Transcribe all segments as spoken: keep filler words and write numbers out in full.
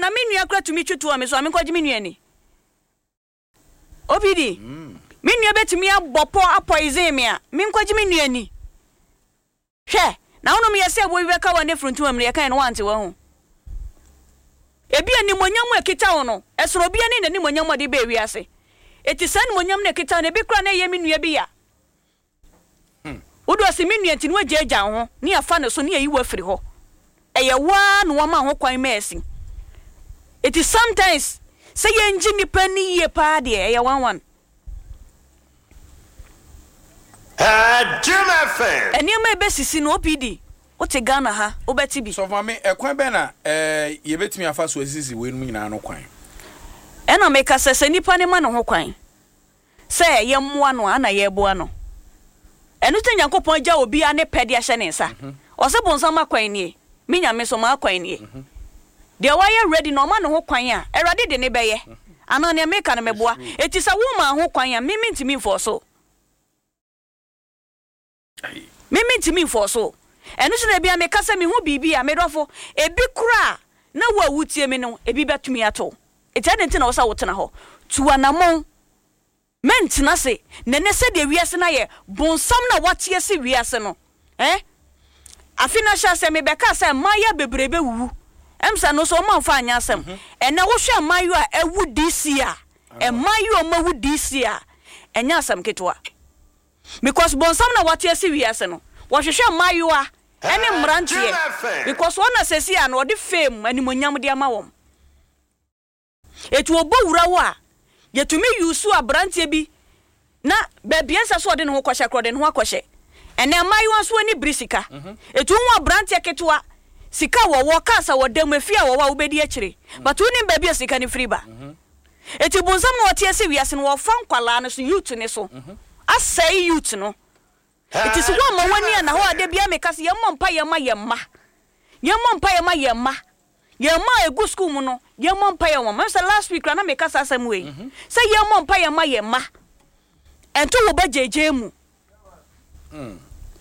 Na me nua kora tumi twi toɔ me so a, menkɔgye me nua ni. O P D, me nua bɛtumi abɔ pɔ apoison me a, menkɔgye me nua ni. Hwɛ na wonom yɛ sɛ ɛboɔ bi bɛka wɔ ne furuntuma mu no, yɛka yɛ no wante wɔ ho. Ebi animonyam a ɛkita wo no, ɛsono obi ne n'animonyam a ɔde bɛɛ wiase. Eti saa animonyam no ɛkita wo no, ebi kora na ɛyɛ me nua bi ya wode ɔsi me nua nti no, wagyaagya wo ho ne yɛfa ne so ne yɛyi wo afiri hɔ. Ɛyɛ waa na wɔma ho kwan ma asi. Eti sometimes sɛ yɛngye nipa ni yie paa deɛ, ɛyɛ one one. Jim F M. Nneɛma a ɛbɛsisi no, O P D, wote Ghana ha, wobɛte bi. Sɔfo maame, ɛkwan bɛn na ɛɛ yɛbɛtumi afa so asisi wei nom nyinaa no kwan? Ɛna meka sɛ sɛ nipa ne ma ne ho kwan sɛ yɛmmoa no a, ana yɛboa no. Ɛno sɛ Nyankopɔn agya obiara ne pɛ de ahyɛ ne nsa. Ɔsɛ bonsam akwan nie, me Nyame so ma akwan nie. Deɛ wayɛ ready na ɔma ne ho kwan a, Awurade de ne bɛyɛ anaa nea meka no meboa. Eti sɛ woma ho kwan a, me mentumi mfɔ so, me mentumi mfɔ so. Ɛno so na ebia meka sɛ mehu biribi a, medɔfo, ebi kora na wo a wotie me no, ebi bɛtumi ato. Eti ɛde nti na wɔ sɛ wotena hɔ tu anammɔn, mɛntena se nɛnɛ sɛdeɛ wiase no ayɛ bonsam na wate asi wiase no. eh? Afe no ahyɛ sɛ mebɛka sɛ mmaayɛ bebree bɛwuwu ɛm sɛ no so ɔma mfa anyɛ asɛm. Ɛnɛ wohwɛ mmaayewa a ɛwu D C a, mmaayewa a ɔmawu D C a, ɛnyɛ asɛm ketewa, because bonsam na wate asi wiase no, wɔhwehwɛ mmaayewa ɛne mmeranteɛ, because wɔn na sɛsi a no ɔde fame animonyam de ama wɔn. Etu ɔbɔ wura wo a, yɛtumi yusu aberanteɛ bi na baabi ɛnsɛ so ɔde ne ho kɔhyɛ korɔ, ɔde ne ho akɔhyɛ. Ɛnɛ mmaayewa nso ani biri sika. Etu ho aberanteɛ ketewa sika wɔwɔ cars a wɔda mu, efi a wɔwɔ a, wobɛdi akyire, but wonim baabi a sika no firi ba. Eti bonsam na ɔte ase wiase no, wɔfa nkwalaa no so, youth ne so, asɛe youth no. Eti sɛ wɔn ama wɔn ani ana hɔ a, de bia meka sɛ yɛmmɔ mpa yɛn ma yɛn mma, yɛmmɔ mpa yɛn ma yɛn mma, yɛn mma a egu school mu no, yɛmmɔ mpa yɛn wɔn mɛ. Sɛ last week na meka saa asɛm wei sɛ yɛmmɔ mpa yɛn ma yɛn mma, ɛnto wɔ ba gyegye mu.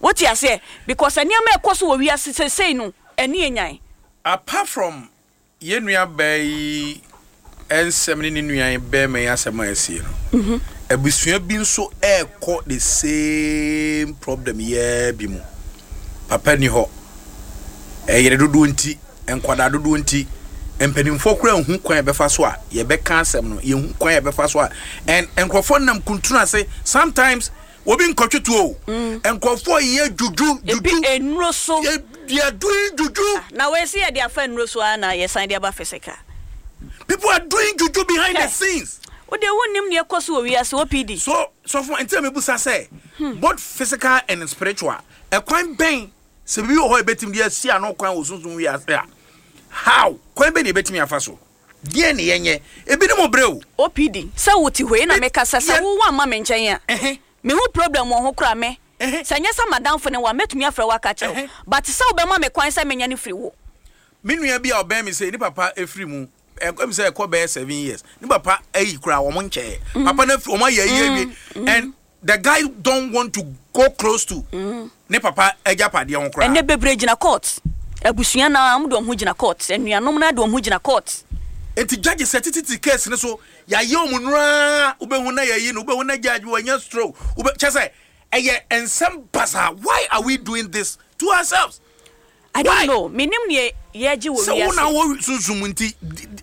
Wote aseɛ? Because nneɛma ɛkɔ so wɔ wiase sesei no, ɛni enyan. Apart from yɛn nua baa yi nsɛm ne ne nua bɛrima yi asɛm a ɛsie no, abusua bi nso ɛrekɔ the same problem yɛɛ bi mu. Papa ni hɔ, ɛyere dodoɔ nti, nkwadaa dodoɔ nti, mpanimfoɔ koraa nhu kwan a yɛbɛfa so a yɛbɛka asɛm no, yɛhu kwan a yɛbɛfa so a, and nkurɔfoɔ nam kuntunu ase. Sometimes obi nkɔtwe tuo o, nkurɔfoɔ yɛ juju. Ebi juju. Enuro so. Yɛ they are doing juju. Na wɔasi yɛde afa nnuro so ara na yɛsan de aba physical. People are doing juju behind the Hey. scenes. Wode wonnim nea ɛkɔ so wɔ wiase, O P D. So sɔfo, nti na mebusa sɛ both physical and spiritual, ɛkwan bɛn, sɛ biribi wɔ hɔ a yɛbɛtumi de asi ano kwan wɔ sunsun wiase a, how, kwan bɛn na yɛbɛtumi afa so, deɛ ne yɛnyɛ ebinom brɛ o? O P D, sɛ wote hɔ yi na Me- meka sɛ sɛ yɛ- wowɔ ama me nkyɛn a, Ɛhɛ. mehu problem wɔ ho kora me, Ɛhɛ. sɛ nyɛ sɛ madamfo ne wa, mɛtumi afrɛ wo aka kyerɛ wo, Ɛhɛ. but sɛ wobɛma me kwan sɛ menya no firi wo. Me nua bi a ɔbɛn mi sɛ ne papa efiri mu, ɛkɔ mi sɛ ɛkɔ bɛyɛ seven years, ne papa ayi kura wɔn nkyɛn, papa na fi wɔn ayɛ ayi awie, and the guy don't want to go close to ne papa agyapadeɛ ho koraa. Ɛnɛ bebree gyina court. Abusua na ɔmo de ɔmo ho gyina court, anuanom na de ɔmo ho gyina court. Nti judge sɛ tititi case ne so yɛayɛ ɔmo nuraa, wobɛhu na yɛyi no, wobɛhu na judge wɔanya stroke, wobɛ kyɛ sɛ ɛyɛ nsɛm basa. Why are we doing this to ourselves? I don't Why? know. Menim neɛ yɛgye wɔ Sɛ wo na wiase. wɔ sunsum nti, di- di-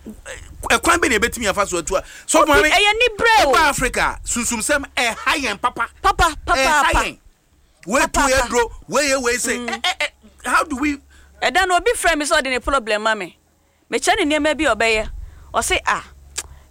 ɛkwan bɛ na yɛbɛtumi afa so atu a so Obi- maame, ɛyɛ nibrɛ o. Woba Africa, sunsumsɛm ɛha yɛn papa. Papa. Ɛha Papaapa. yɛn, wei tu Papaapa. yɛ duro, wei yɛ wei se ɛ ɛ ɛ how do we? Ɛda no obi frɛ me sɛ ɔde ne problem ma me, mekyɛ ne nneɛma bi a ɔbɛyɛ. Ɔse, "Ah,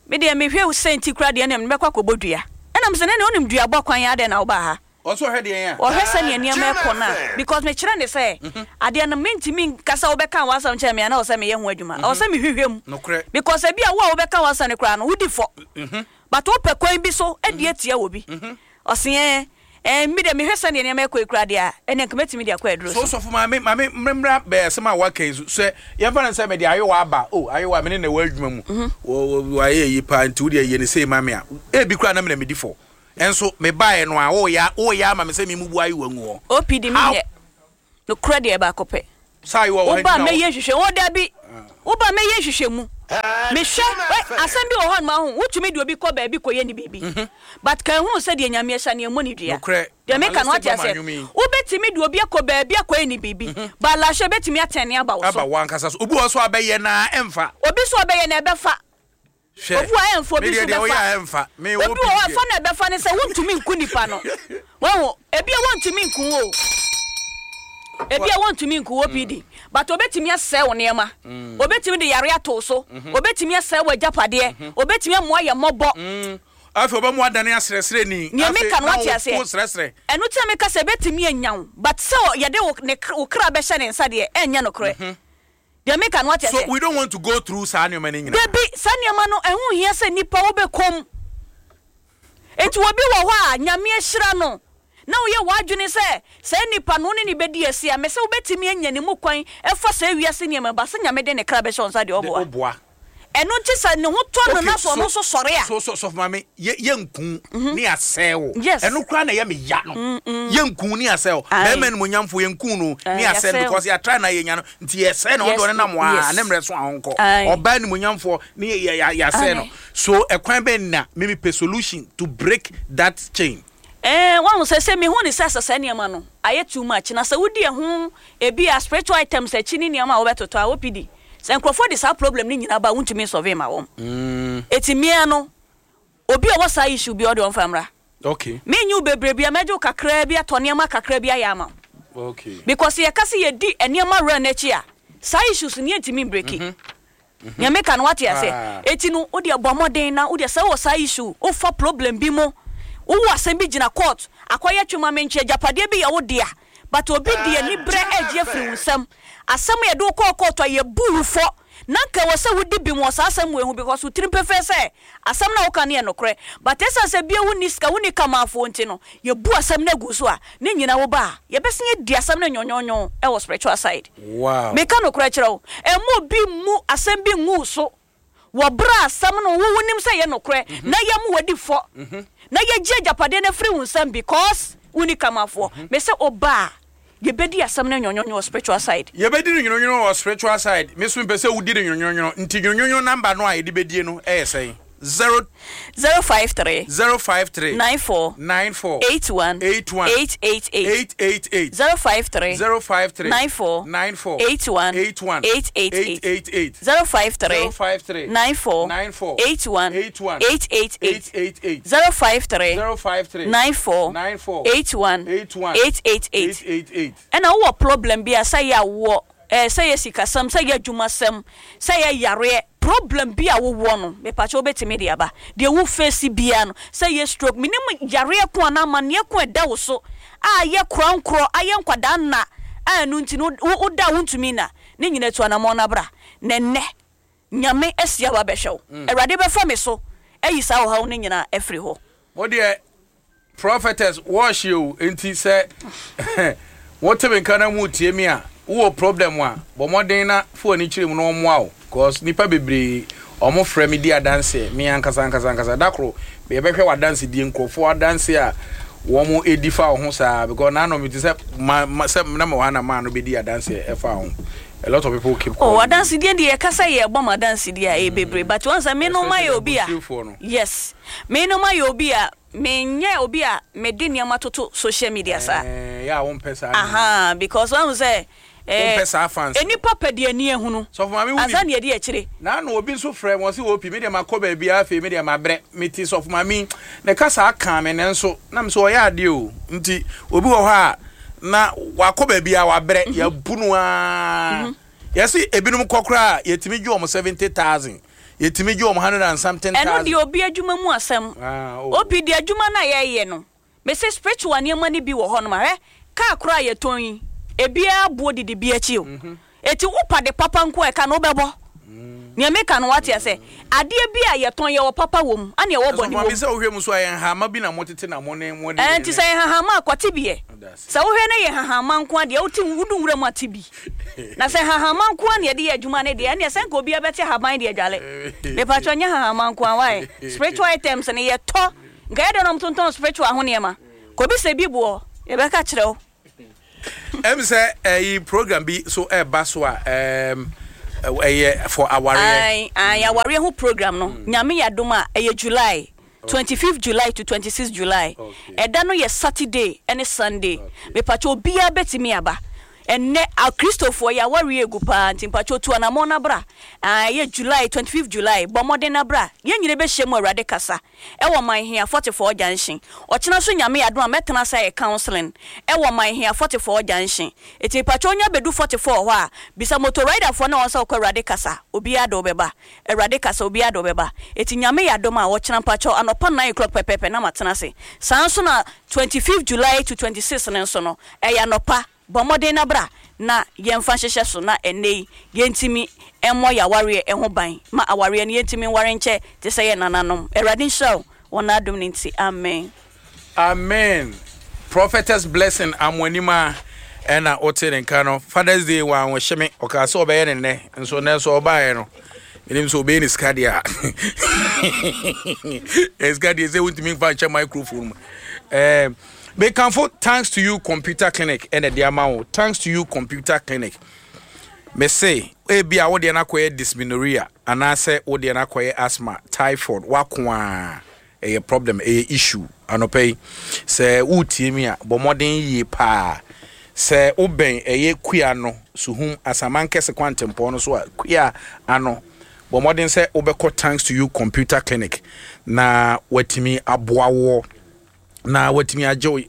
me deɛ mehwɛ wo sɛ nti kora deɛ ɛnam mɛkɔ akɔbɔ dua." Ɛnam sɛ ne wonim duabɔ kwan yɛ adɛn na wobaa ha? Ɔso ɔhwɛ deɛ yɛn a Ɔhwɛ sɛnea nneɛma ɛkɔ no a, because mekyerɛ ne sɛ adeɛ no, mentumi nka sɛ wobɛka w'asɛm kyerɛ me a na ɔwɔ sɛ meyɛ ho adwuma, ɔwɔ sɛ mehwehwɛ mu. Nokorɛ. Because ebi a wo a wobɛka w'asɛm no koraa no, wodi fɔ, but wopɛ kwan bi so adi atia wɔ bi. Ɔse ɛ ɛ mi deɛ mehwɛ sɛnea nneɛma ɛkɔ yi koraa deɛ a, ɛnɛ nka mɛtumi de akɔ aduro so. So. Sɔfo maame, maame mmemmra bɛyɛ asɛm a waka yi so sɛ yɛmfa no sɛ mede ayewa aba o, ayewa mene na ɛwɔ adwuma mu, wɔ- wɔ- wayɛ yi paa, nti wode ayɛ ne sei ma me a, ebi koraa na mena medi fɔ, ɛnso mebaeɛ no a, woyɛ woyɛ ama me sɛ memubu ayewa ngu hɔ. O P D, How? Menyɛ nokorɛ deɛ baako pɛ. Saa ayewa wɔ ha Woba nti na wo- mɛyɛ hwehwɛ wo dabi. Woba, mɛyɛ nhwehwɛmu. Mehwɛ ɛ, asɛm bi wɔ hɔ noma ho wotumi de obi kɔ baabi kɔyɛ ne biribi, but ka ehunu sɛ deɛ Nyame ahyɛ ne ɛmmɔ ne dua. Nokorɛ. Deɛ meka no, wate Normalistic aseɛ? bɔ ma nnwom yi. Wobɛtumi de obi akɔ baabi akɔyɛ ne biribi, but alahyɛ bɛtumi atɛne aba wo Aba so. wɔ ankasa so, obi wɔ so a bɛyɛ na ɛmfa. Obi so ɔbɛyɛ na ɛbɛfa. Hwɛ. Obi wɔ hɔ a ɛmfa, obi Me so deɛ deɛ woyɛ bɛfa. a ɛmfa me. Obi wɔ hɔ a, fa na ɛbɛfa ne sɛ wontumi nku nipa no. Wɔho ebi a wontumi nku wo o, ebi a wontumi nku wo pd, but obetumi asɛe wo nneɛma, obetumi de yare ato wo so, obetumi asɛe wo agyapadeɛ, obetumi amoa yɛ mmɔbɔ. Afei ɔbɛmu adane aserɛserɛ ni. Nea Afei meka no, na wate aseɛ? wo serɛserɛ. Ɛno tí a meka sɛ ebetumi anya wo, but sɛ yɛde wo ne wo kra bɛhyɛ ne nsa deɛ, ɛnyɛ nokorɛ. Deɛ meka no, wate So aseɛ? we don't want to go through saa nneɛma no nyinaa. Dabi, saa nneɛma no ɛho hia sɛ nipa wobɛkɔm. Eti obi wɔ hɔ a Nyame ahyira no na woyɛ w'adwene sɛ saa nipa no wo ne ne bɛdi asi a, mɛ sɛ wobɛtumi anya ne mu kwan ɛfa saa wiase nneɛma ba sɛ Nyame de ne kra bɛhyɛ wo nsa deɛ, De ɔboa. woboa. Ɛno nti sɛ ne ho tɔ no na so ɔno nso sɔre a so so sɔfo maame, yɛ yɛnku ne asɛe wo. Yes. Ɛno koraa na ɛyɛ me ya no, yɛnku ne asɛe wo. Aye. Bɛrima animonyamfo, yɛnku no ne Aye, asɛe no yɛasɛe wo. because yɛatra na yɛnya no nti yɛsɛe no. Yes, Ɔde ɔne nam a yes. ne mmerɛ so a ɔnkɔ. Aye. Ɔbaa animonyamfoɔ ne yɛ- yɛ- yɛasɛe no. Aye. So ɛkwan bɛn na mimi pɛ solution to break that chain? Ɛɛ, wɔn sɛ sɛ mihu ne sɛ sɛ saa nneɛma no ayɛ too much na sɛ wodi ɛho ebi a spiritual items akyi ne nneɛma a wɔbɛtotɔ a O P D sɛ nkurɔfoɔ de saa problem ne nyinaa ba a, wontumi nsɔve ma wɔn. Eti mmea no, obi a ɔwɔ saa issue bi, ɔde ɔmfa mmra. Okay menyi wo bebree bi a, mɛgye wo kakraa bi atɔ nneɛma kakraa bi ayɛ ama wo okay because yɛka sɛ yɛdi nneɛma wura n'akyi a, saa issues no yɛntumi mbreki. Nea meka no, wate ase? Ah. Eti no, wode bɔ mmɔden na wode sɛ wɔ saa issue, wofa problem bi mu, wowɔ asɛm bi gyina court akɔyɛ twema mentwe, agyapadeɛ bi yɛ wo dea, but obi de ani berɛ agye afiri wo nsɛm, asɛm yɛde wo kɔɔ court a yɛbu wo fɔ na nka wɔ sɛ wodi bi wɔ saa asɛm wei ho because wo tirim pɛfɛ sɛ asɛm na woka no yɛ nokorɛ, but ɛsiane sɛ bia wonni sika, wonni kamaafoɔ nti no, yɛbu asɛm no agu so a, ne nyina wo ba a, yɛbɛsen adi asɛm no nwɔnwɔnwɔn ɛwɔ spiritual side. Wow meka nokorɛ kyerɛ wo, ɛma obi mmu asɛm bi ngu so wɔ berɛ a asɛm no wo wonim sɛ yɛ nokorɛ na yɛmu wadi fɔ na yɛgye agyapadeɛ no afiri wo nsɛm because wonni kamafoɔ. Me sɛ ɔba a, yɛbɛdi asɛm no nwɔnwɔnwɔn wɔ spiritual side. Yɛbɛdi no nwononwono wɔ spiritual side. Me so mepɛ sɛ wodi no nwononwono, nti nwononwono number no a yɛde bɛdie no ɛyɛ sɛn? Zero zero five three zero five three nine four nine four eight one eight one eight eight eight. eight eight eight. zero five three zero five three nine four nine four eight one eight one eight eight eight. eight eight eight. zero five three zero five three nine four nine four eight one eight one eight eight eight. eight eight eight. zero five three zero five three nine four nine four eight one eight one eight eight eight. eight eight eight. Ɛna wowɔ problem bi a, sɛ yɛ awoɔ, ɛɛ sɛ yɛ sikasɛm, sɛ yɛ adwumasɛm, sɛ yɛ yareɛ problem bi a wowɔ no, mepakyɛ wobɛtumi de aba. Deɛ wo face biara no, sɛ yɛ stroke, menim yareɛ ko anaa amanneɛ ko ɛda wo so a yɛ korankorɔ ayɛ nkwadaa nna a, ɛno nti no wo- woda a wontumi nna ne nyina, tu anammɔn no abra na ɛnnɛ Nyame asia wa bɛhwɛ wo. Awurade bɛfa me so ayi saa ɔhaw no nyinaa afiri hɔ. Mo deɛ, prophetess wɔɔhye o, nti sɛ wote me nka na mu tie mi a, wowɔ problem a, bɔ mmɔden na fo ani kyerɛ mu na ɔmmoa wo cause nipa bebree ɔmo frɛ me di adanseɛ. Me ankasa ankasa ankasa, da koro yɛbɛhwɛ w'adanse die, nkurɔfoɔ adanse a wɔn edi fa wo ho saa because naanọ mi ti sɛ ma ma sɛ na ma wɔ ha na maa no bɛdi adanseɛ ɛfa ho. A lot of people keep Oh, calling me. Adansedie deɛ, yɛka sɛ yɛbɔ ma adansedie a, ɛyɛ bebree, but wɔn sɛ me no ma yɛ obi a Abusuafoɔ no. Yes, me no ma yɛ obi a menyɛ obi a mede nneɛma toto social media saa. Ɛɛ, yɛ a wompɛ saa. Aha, because wɔn sɛ Wompɛ saa fans. Enipa pɛ deɛ ani ehunu Sɔfo maame, wonim. Ansa ne yɛde akyire. Na na obi nso frɛ wɔn sɛ opi me deɛ, makɔ baabi a, afei me deɛ mabrɛ, mete sɔfo maame ne kasa aka me ne nso na me sɛ ɔyɛ adeɛ o. Nti obi wɔ hɔ a na wakɔ baabi a wabrɛ, yɛabu no aa, yɛsi ebinom kɔ koraa, yɛtumi gye wɔn seventy thousand, yɛtumi gye wɔn hundred and something Ɛno thousand. deɛ, obi adwuma mu asɛm. Ah, oh. Obi deɛ, adwuma no a yɛyɛ no, mese spiritual nneɛma no bi wɔ hɔ nom a, hwɛ kaa koraa a yɛtɔn yi, ebiara boɔ didi bi akyi o. Eti wopa de papa nko a, ɛka no wobɛbɔ. Nea meka no, wate ase? Adeɛ bi a yɛtɔn, yɛwɔ papa wɔ mu ana yɛwɔ Sɔfo bɔne maame, wɔ mu. sɛ wohwɛ mu so a, yɛn hama bi na motete na mo ne mo de. Ɛɛ, nti sɛ yɛ hahama a, kɔte bi yɛ. Ɔda ase. Sɛ wohwɛ ne yɛ hahama nko a deɛ, wote wodu nwura mu ate bi na sɛ hahama nko a na yɛde yɛ adwuma ne deɛ, ɛneɛ sɛ nka obiara bɛte haban deɛ adwale. Mepatwɛ, nyɛ hahama nko a wae. Spiritual items no yɛtɔ nka yɛde nom tontɔn spiritual ho nneɛma kɔbi sɛ bi boɔ, yɛbɛka kyerɛ wo. Ɛm sɛ ɛyi program bi so ɛɛba so a, ɛɛm Ɛyɛ for awareɛ. Ae, ae, awareɛ ho program no, Nyame yɛ adom a, ɛyɛ July, twenty fifth July to twenty sixth July. Ɛda no yɛ Saturday ɛne Sunday. Mepakyɛ obiara bɛtumi aba. Ɛnnɛ Akristofoɔ yɛ awareɛ egu paa, nti mpakyɛ tu anammɔn na bra. Ae, ɛyɛ July, twenty fifth July, bɔ mmɔden na bra. Yɛn nyinaa bɛhyia mu Awurade kasa ɛwɔ Manhia forty four Junction. Ɔkyena nso Nyame yɛ adom a, mɛtena ase ayɛ counseling ɛwɔ Manhia forty four Junction. Eti mepakyɛ wonya bɛdu forty four hɔ a, bisa motor rider foɔ na wɔn sɛ wokɔ Awurade kasa, obiara de wo bɛba. Awurade kasa, obiara de wo bɛba. Eti Nyame yɛ adom a, ɔkyena mpakyɛ anɔpa nine o'clock pɛpɛɛpɛ na matena ase. Saa nso na twenty fifth July to twenty six no nso no, ɛyɛ anɔpa. Bɔ mmɔden na bra na yɛmfa nhyehyɛ so na ɛnnɛ yi yɛntumi mmɔ yɛn awareɛ ho ban ma awareɛ no yɛntumi nware nkyɛ te sɛ yɛn nananom. Awurade nhyira wo wɔ n'adom no nti. Amen. Amen Prophetess Blessing Amoanima ɛna wote ne nka no. Father's Day wanhyɛ me, ɔkaa sɛ ɔbɛyɛ ne nnɛ nso, nnɛ nso ɔbaeɛ no, menim sɛ ɔbɛyɛ ne sika deɛ a, sika deɛ sɛ wontumi mfa nhyɛ microphone mu. eh, mekamfo Thanks to You Computer Clinic ɛna de ama wo. Thanks to You Computer Clinic, mese ebi a wodeɛ no akɔyɛ dysmenorrhea anaasɛ wodeɛ no akɔyɛ asthma, typhoid, wako a ɛyɛ problem, ɛyɛ issue. Anɔpɛ yi sɛ wotie mi a, bɔ mmɔden yie paa sɛ wobɛn ɛyɛ Kua no Suhum Asamankɛse kwantempɔn no so a, Kua ano, bɔ mmɔden sɛ wobɛkɔ Thanks to You Computer Clinic na watumi aboa woɔ na watumi agye wo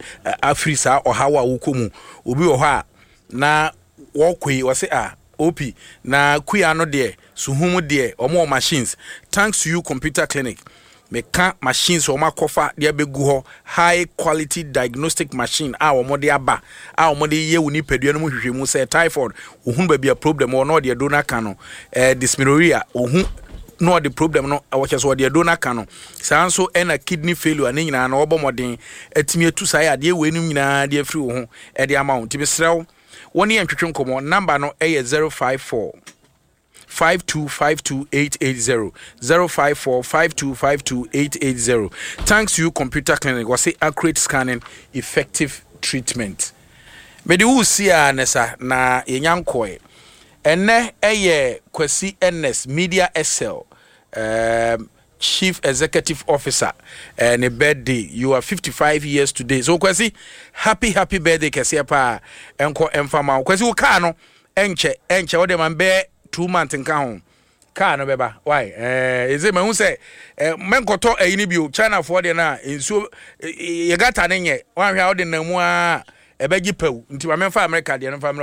afiri saa ɔhaw a wokɔ mu. Obi wɔ hɔ a na wɔkɔ yi, wɔse a op na Kua no deɛ, Suhum deɛ, ɔmo wɔ machines. Thanks to You Computer Clinic, meka machines wɔn akɔfa de abɛgu hɔ, high quality diagnostic machine a wɔn de aba a wɔn de yɛ wɔ nipadua no mu hwehwɛ mu sɛ typhoid, ohun baabi a problem wɔ na ɔde aduro no aka no, ɛɛ dysmenorrhea, ohun na ɔde problem no wɔkyɛ so ɔde aduro no aka no. Saa nso ɛna kidney failure ne nyinaa na ɔbɔ mmɔden atumi atu saa adeɛ wei no nyinaa de afiri wo ho ɛde ama wo. Nti mesrɛ wo, wɔn ne yɛn twetwe nkɔmɔ. Number no ɛyɛ zero five four five two five two eight eight zero, zero five four five two five two eight eight zero. Thanks to You Computer Clinic, wɔse accurate scanning, effective treatment. Mede wo si a ne sa na yɛnya nkɔɛ. Ɛnɛ ɛyɛ Kwasi Ernest, Media S L um, Chief Executive Officer, uh, ne birthday. You are fifty-five years today, so Kwasi, happy happy birthday kɛseɛ paa ɛnkɔ ɛmfa ma wo. Kwasi, wo kaa no ɛnkyɛ ɛnkyɛ, wode ma bɛɛ two months nka ho, kaa no bɛba. Why ɛɛ ɛsɛ mahu sɛ ɛɛ mɛnkɔtɔ ɛyi ni bio, Chinafoɔ deɛ no a nsuo yɛ gata ne nyɛ wanhwɛ a wode nam mu a ɛbɛgye pɛw, nti ma mɛmfa America deɛ no mfa mmerɛ.